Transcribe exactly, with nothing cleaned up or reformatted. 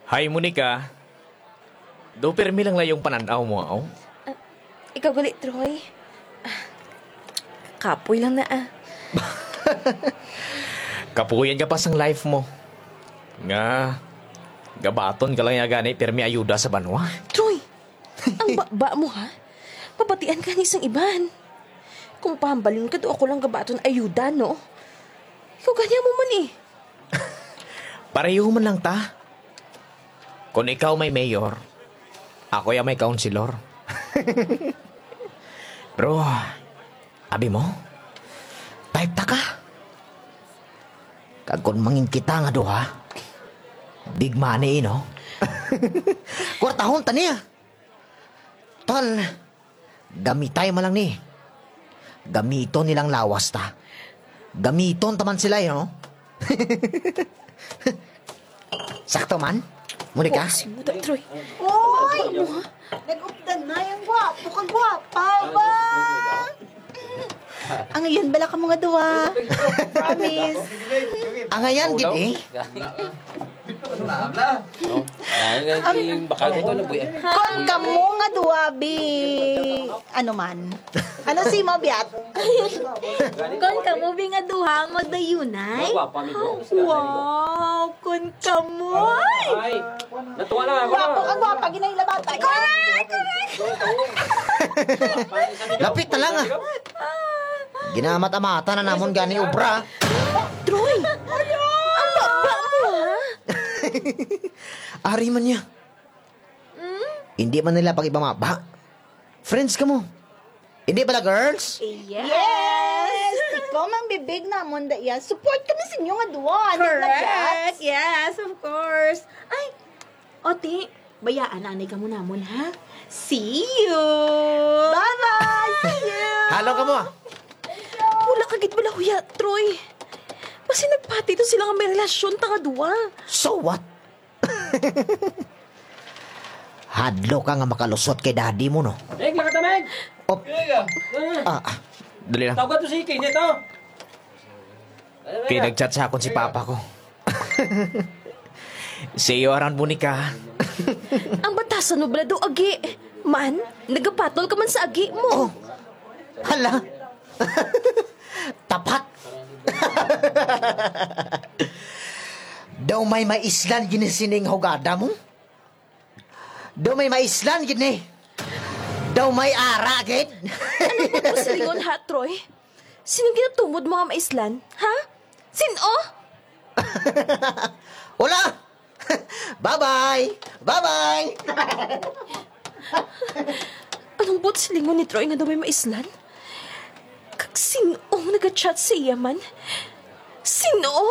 Hi, Monica. Do, pirmi lang layong panan-aw mo, aw. Ah, ikaw gali, Troy. Ah, kapoy lang na, ah. Kapuyan ka pa sang life mo. Nga, gabaton ka lang ya gani, pirmi ayuda sa banwa. Troy, ang baba mo, ha? Mabatian ka ni sang iban. Kung pahambalon ka, do ako lang gabaton ayuda, no? Ikaw gani mo man, eh. Pareho man lang ta. Kung ikaw may mayor, ako ya may councilor. Pero, abi mo, type ta ka. Kag kung mangin kita nga duha, big money, no? Kwartahon ta niya. Tal, gamitay man lang ni. Gamiton nilang lawas ta. Gamiton ta man sila, eh, no? Sakto man? Muli ka? Boxing mo, Troy. Oy! Ano, ha? Nag-updan na yung gwapo ka, gwapa ba? Ang iyon bala ka mga duwa. Promise. Ang ayan, gid eh. Ang bakal ito na buya. Kon kamo nga duwa, bi, ano man? Ano si mo, Biat? Kon kamo, bi, nga duha ang magdayunay? Wow, kon kamo. Ay, natuwa na ako. Gwapo ka, gwapa, ginay labata. Correct, correct. Lapit na lang, ah. Ginamat-amatan na namon gani obra. Troy! Ang baba mo, ha? Ari man niya. Hmm? Hindi man nila pag-ibamaba. Friends ka mo. Hindi bala, girls? Yes! Yes! Ikaw mang bibig namon, da, yes. Support kami sa inyo nga duwa, di ba, Correct! Yes, of course. Ay, Oti, bayaan na anay kamo namon, ha? See you! Bye-bye! See you! Halo ka mo, ah. Wala ka gid bala huya, Troy. Basi nagpati to sila nga may relasyon ta nga duwa. So what? Hadlo ka nga makalusot kay daddy mo, no? Meg, lakata, Meg! Op. Kaya ka? Ah. Ah, ah. Dali lang. Tawag to si Kenneth, oh. Kay nag-chat sa akon si papa ko. See you around, Monica. Ang batasan mo bala daw agi. Man, nagapatol ka man sa agi mo. Oh. Hala. Tapat. Daw may maislan gini sining hugada mo? Daw may maislan gid ni. Daw may ara gid. Ano po silingon, ha, Troy? Sinong ginatumod mo nga maislan, ha? Sin-o? Wala. Bye-bye. Bye-bye. Anong buot silingon ni Troy nga daw may maislan? Kag sin-o ang nagachat sa iya man? Sin-o?